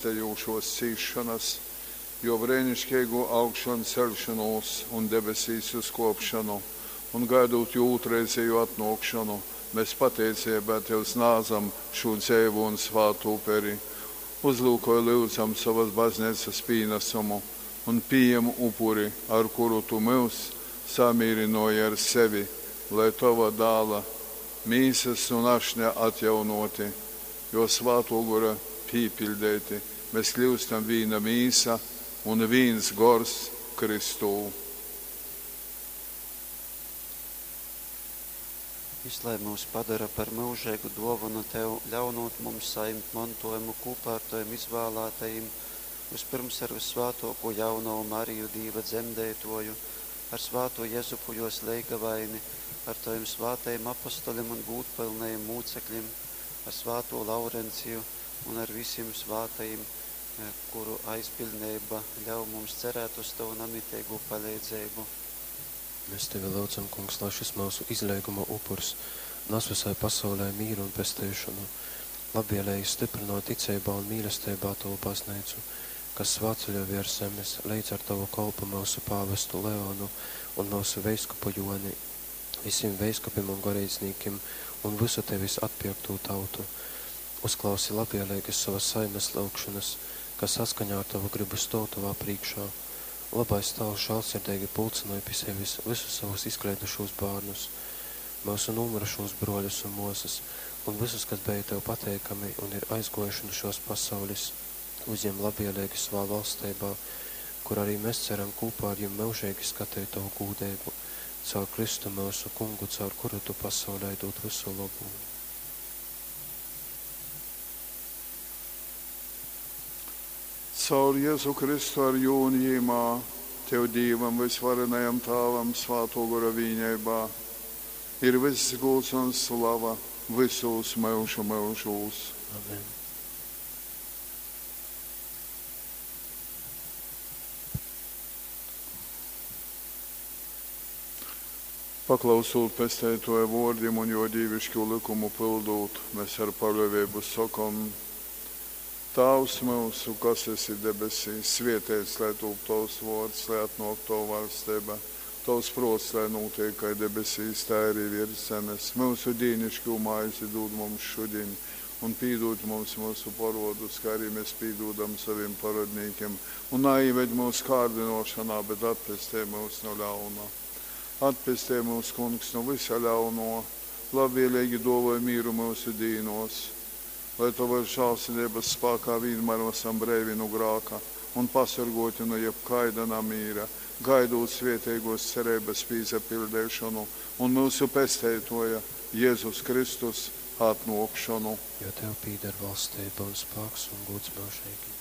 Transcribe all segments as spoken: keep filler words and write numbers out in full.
Pestejušōs cīsšonas, Jō breiniškeigū augšonceļšonūs un debesīs uzkōpšonu, un gaidūt Jō ūtrreizejū atnōkšonu, mes pateiceibā Tev snādzam šū dzeivū un svātu uperi. Uzlyukoj, lyudzam, sovas Bazneicas pīnasumu un pījem upuri, ar kuru Tu myus samīrynōji ar sevi, lai, Tova Dāla Mīsas un Ašņa atjaunōti, Jō Svātō Gora pīpiļdeiti, mes kļyustam vīna mīsa un vīns gors Kristū. Jys lai myus padora par myužeigu dōvonu Tev, ļaunūt mums sajimt montōjumu kūpā ar Tovim izvālātajim, vyspyrms ar vyssvātōkū Jaunovu Mariju, Dīva Dzemdeitōju, ar svātū Jezupu jōs leigavaini, ar Tovim svātajim apostolim un gūdpylnajim mūceklim, ar svātū Laurenciju un ar visim svātajim, kuru aizbiļdneiba ļauj mums cerēt uz Tovu namiteigū paleidzeibu. Mēs Tevi lyudzam, Kungs, lai šys myusu izleiguma upurs nas vysai pasaulei mīru un pesteišonu. Labvēlīgi styprynoj ticeibā un mīlesteibā Tovu Bazneicu, kas svātceļoj viers zemes, leidz ar Tovu kolpu myusu pāvestu Leonu un myusu veiskupu Joni, visim veiskupim un goreidznīkim un vysu Tevis atpierktū tautu. Uzklausi labvēlīgas sovas saimes lyugšonas, kas saskaņā ar Tovu gribu stōv Tovā prīškā. Lobais Tāvs žālsirdeigi pulcynoj pi sevis visus savus izkleidušūs bārnus, myusu nūmyrušūs brōļus un mōsas, un vysus, kas beja Tev pateikami un ir aizgōjuši nu šōs pasaules, uzjem labvēlīgi savā valsteibā, kur arī mēs ceram kūpā ar jim myužeigi skateit Tovu gūdeibu, caur Kristu myusu Kungu, caur kuru Tu pasaulei dūd vysu lobu. Caur Jezu Kristu ar Jū un Jymā, Tev, Dīvam vysvarenajam Tāvam, Svātō Gora vīneibā, ir vyss gūds un slava vysūs myužu myužūs. Amen. Paklausūt Pesteitōja vōrdim un Jō dīviškū lykumu pyldūt, mes ar paļōveibu sokom, Tāvs myusu, kas esi debesīs, svēteits lai tūp Tovs vōrds, lai atnōk Tova vaļsteiba. Tovs prōts lai nūteik kai debesīs, tai arī viers zemes. Myusu dīniškū maizi dūd mums šudiņ, un pīdūd mums myusu porōdus, kai arī mēs pīdūdam sovim porōdnīkim. Un naīved myus kārdynōšonā, bet atpestej myus nu ļauna. Atpestej myus, Kungs, nu vysa ļaunō, labvēleigi dōvoj mīru myusu dīnōs, lai Tovas žālsirdeibas spākā vīnmār asam breivi nu grāka un pasorgōti nu jebkaida namīra, gaidūt svēteigōs cereibas pīsapiļdeišonu un myusu Pesteitōja Jezus Kristus atnōkšonu. Jo Tev pīder valsteiba un spāks un gūds myužeigi.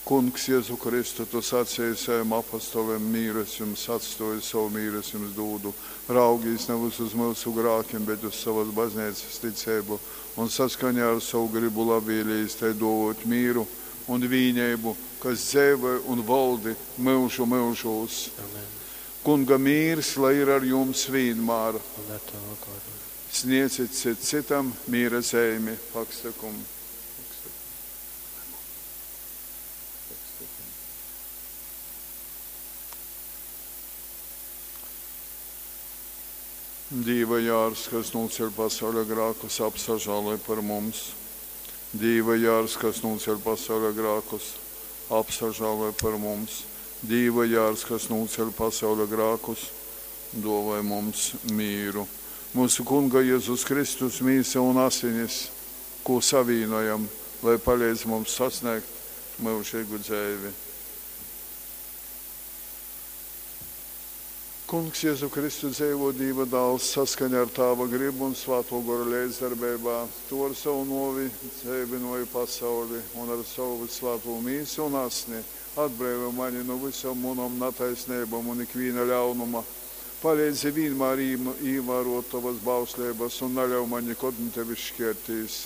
Kungs, Jezu Kristu, Tu saceji savim apostolim, mīru es jums atstōju, sovu mīru es jums dūdu. Raugīs navys uz myusu grākim, bet uz sovas bazneicas ticeibu, un saskaņā ar sovu gribu labvēlījis tai dōvōt mīru un vīneibu, kas dzeivoj un voldi myužu myužūs. Amen. Kunga mīrs, lai ir ar jums vīnmār. Un ar Tavu goru. Sniedzit cits citam mīra zeimi. Pax tecum. Dīva jārs, kas nūceļ pasauļa grākus, apsažāloj par mums. Dīva jārs, kas nūceļ pasauļa grākus, apsažāloj par mums. Dīva jārs, kas nūceļ pasauļa grākus, dōvoj mums mīru. Mūsu Kunga Jezus Kristus mīsa un asinis, kū savīnojam, lai paleidz mums sasniegt myužīgu dzeivi. Kungs Jezu Kristu dzeivo Dīva dāls saskaņā ar Tāva gribu un Svātō Gora leidzdarbeibā. Tu ar savu nōvi dzeivynoji pasauli un ar savu vysvātū mīsu un asni atbreivoj mani nu vysom munom nataisneibom un ikvīna ļaunuma. Paleidzi vīnmār īvārot Tovas bausleibas un naļauj man nikod nu Tevis škērtīs.